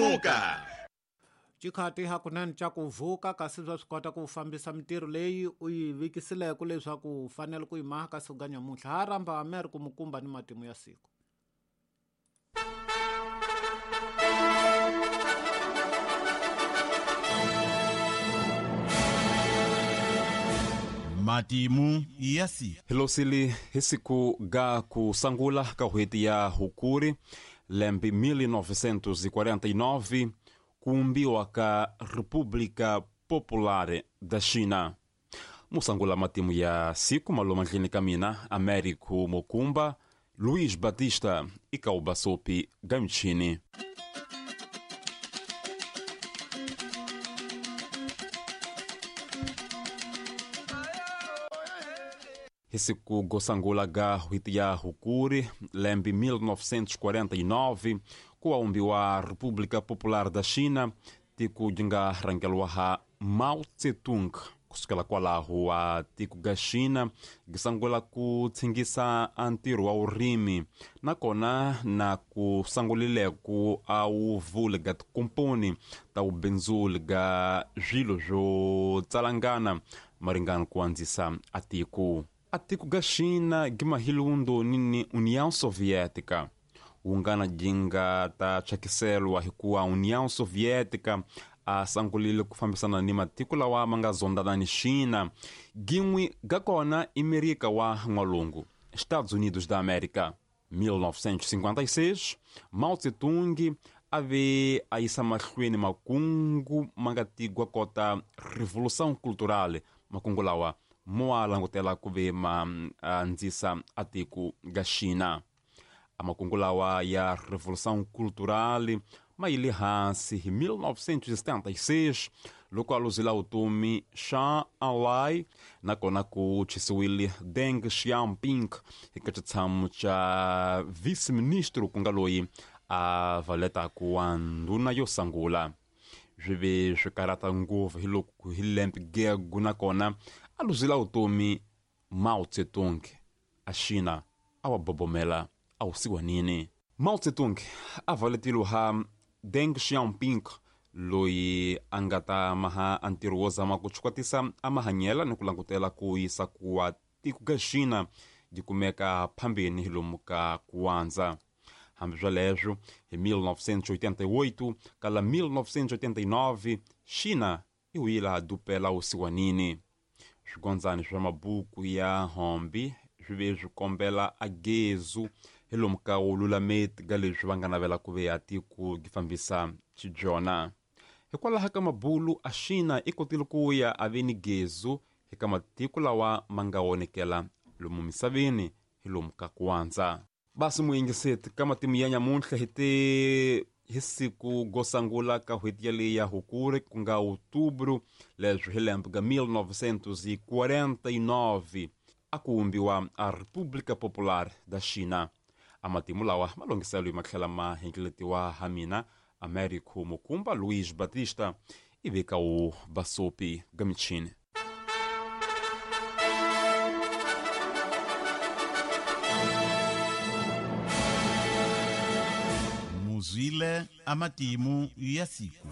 Lemuka Xikhati hakunene xa ku vuka kasi bya swi kota ku fambisa mintirho leyi u yi vikisileke leswaku u fanele ku yi maha ka siku ka nyamuntlha ha rhamba Amer ku mukumba ni matimu ya siku. Matimu ya siku. Hilosili hi siku ga ku sangula ka n'hweti ya Hukuri lembe 1949 kuumbiwa ka República Popular da China. Musangula matimu ya siku maloma ndlini ka mina Américo Mokumba, Luiz Batista e Kaubasopi Gamchini. Hi siku gosangula ga n'hweti ya Hukuri lembe 1949 ku aumbiwa República Popular da China, tiko ri nga rhangeriwa ha Mao Tse-tung. Kusukela kwalaho wa tiko ga China gi sangula ku tshingisa a ntirho wa vurimi nakona na ku sangulile ku a wu vuli ga tikomponi ta vubindzuli ga swilo swo tsalangana maringana ku andzisa a tiko. A tiko ga China gi mahilundo ni União Soviética wungana gi nga ta thyakiseriwa hikuva União Soviética a sangulile ku fambisana ni matiko lawa ma nga zondana ni China. Gin'we ga kona i Merika wa N'walungu, Estados Unidos da América. 1956 Mao Tse-tung a ve a yisa mahlweni makungu ma nga tigwa kota Revolução Cultural. Makungu lawa mo a langutela ku ve ma andzisa a tiko ga China. A makungu lawa ya Revolução Cultural ma yile hansi hi 1976 loko a luzela vutomi Zhou Enlai, nakona ku chisiwile Deng Xiaoping eka xitshamo xa vice-ministro ku nga loyi a valetaku wa ndhuna yo sangula. Swi ve swi karhata ngopfu hi loko hi lembe gegu nakona a luzela vutomi Mao Tse-tung a China a wa bobomela a wu siwanini. Mao Tse-tung a valetile ha Deng Xiaoping loyi a nga ta maha a ntirho wo zama ku chukwatisa a mahanyela ni ku langutela ku yisa kuwa tiko ga China yi kumeka phambeni hi lomu ka kuwandza. Hambi swoleswo hi 1988 kala 1989 China yi wuyile dupela wusiwanini. Swigondzani swa mabuku ya hombi swi ve swi kombela a gezu hi lomu ka wululameti ka leswi va nga navela ku ve ya tiko gi fambisa xibyona. Hikwalaho ka mabulu a China i kotile ku ya a ve ni gezu eka matiko lawa ma nga wonekela lomu misaveni hi lomu ka kuwandza. Basi muyingiseti ka matimu ya nyamuntlha hi te hi siku gosangula ka n'hweti yaleyi ya Hukuri ku nga Outubro leswi hi lembe ga 1949 a ku vumbiwa a República Popular da China. A matimu lawa ma longhiselo ma tlhela ma hengeletiwa ha mina Américo Mukumba Luiz Batista i veka wu Basopi ga michini. Muzwile amatimu ya siku.